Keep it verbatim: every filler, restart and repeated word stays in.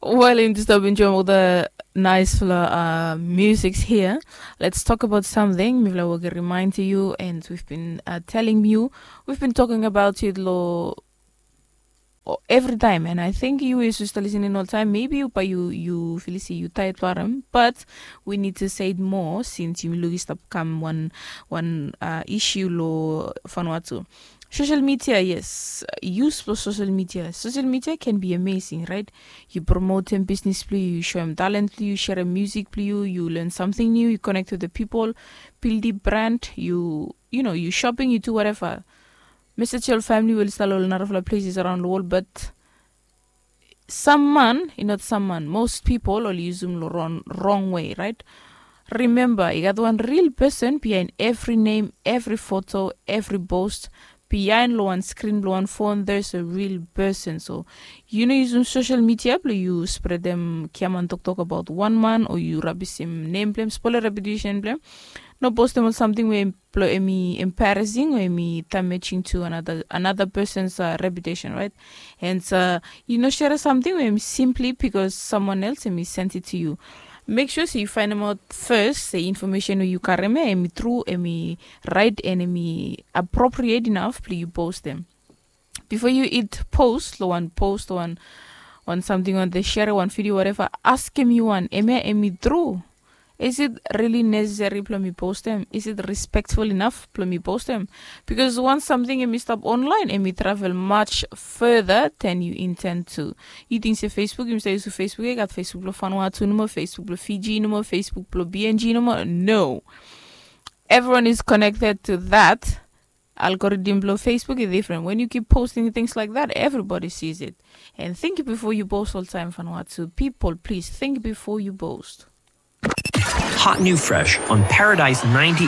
Well, in this time, enjoy all the nice uh, musics here. Let's talk about something. Mifla will remind you, and we've been uh, telling you, we've been talking about it lo every time, and I think you is used to listening all the time. Maybe you, but you, you feel see you tired for them, but we need to say it more since you look stop come one one uh, issue lo Vanuatu. Social media, yes. Use for social media. Social media can be amazing, right? You promote them business blue, you show them talent blue, you share a music blue, you learn something new, you connect with the people, build the brand, you you know, you shopping, you do whatever. Message your family will start all another places around the world, but some man, not some man, most people will use them wrong, wrong way, right? Remember, you got one real person behind every name, every photo, every post. Behind lo one screen, lo one phone, there's a real person. So you know, use social media, you spread them kiaman talk talk about one man, or you rubbish him name blame, spoil a reputation blame. No post them on something where blo emi embarrassing o emi damaging to another, another person's uh, reputation, right? And uh, you know, share something with him simply because someone else emi sent it to you. Make sure so you find them out first, the information you carry me, emi true, emi right, and emi appropriate enough, please you post them. Before you eat post, lo one post, one one something on the share, one video, whatever, ask him you one, emi emi true. Is it really necessary blo mi post them? Is it respectful enough blo mi post them? Because once something emi stop online, emi travel much further than you intend to. You think say Facebook, you say use Facebook, you got Facebook blo Vanuatu, no more Facebook blo Fiji, no more Facebook blo B N G, no more. No. Everyone is connected to that. Algorithm blo Facebook is different. When you keep posting things like that, everybody sees it. And think before you post all time, Vanuatu. People, please think before you post. Hot new fresh on Paradise ninety-eight.